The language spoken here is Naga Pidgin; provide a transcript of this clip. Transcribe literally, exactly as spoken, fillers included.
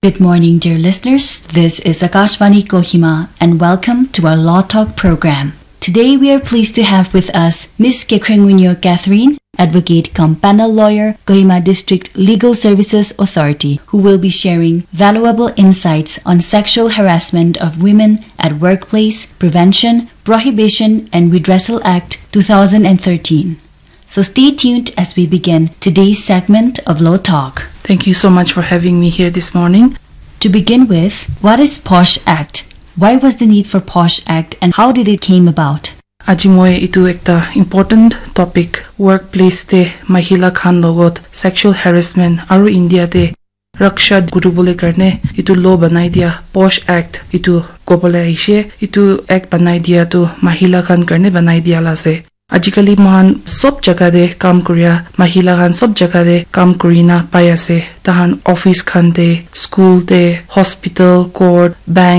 Good morning, dear listeners. This is Akashvani Kohima, and welcome to our Law Talk program. Today, we are pleased to have with us Miss Kekrengunyo Catherine, advocate cum panel lawyer, Kohima District Legal Services Authority, who will be sharing valuable insights on Sexual Harassment of Women at Workplace, Prevention, Prohibition, and Redressal Act two thousand thirteen. So stay tuned as we begin today's segment of Law Talk. Thank you so much for having me here this morning. To begin with, what is POSH Act? Why was the need for POSH Act and how did it came about? Aji moi itu ekta important topic, workplace te mahila khan logot sexual harassment aru India te raksha kuribole karne itu law banai dia POSH Act itu kobole aishe. Itu act banai dia tu mahila khan karne banai dia la ase. Ajikali mohan sob jaga te kam kuria mahila khan sob jaga te kam kurina pai ase. Tahan office khan te, school te, hospital, court, bank,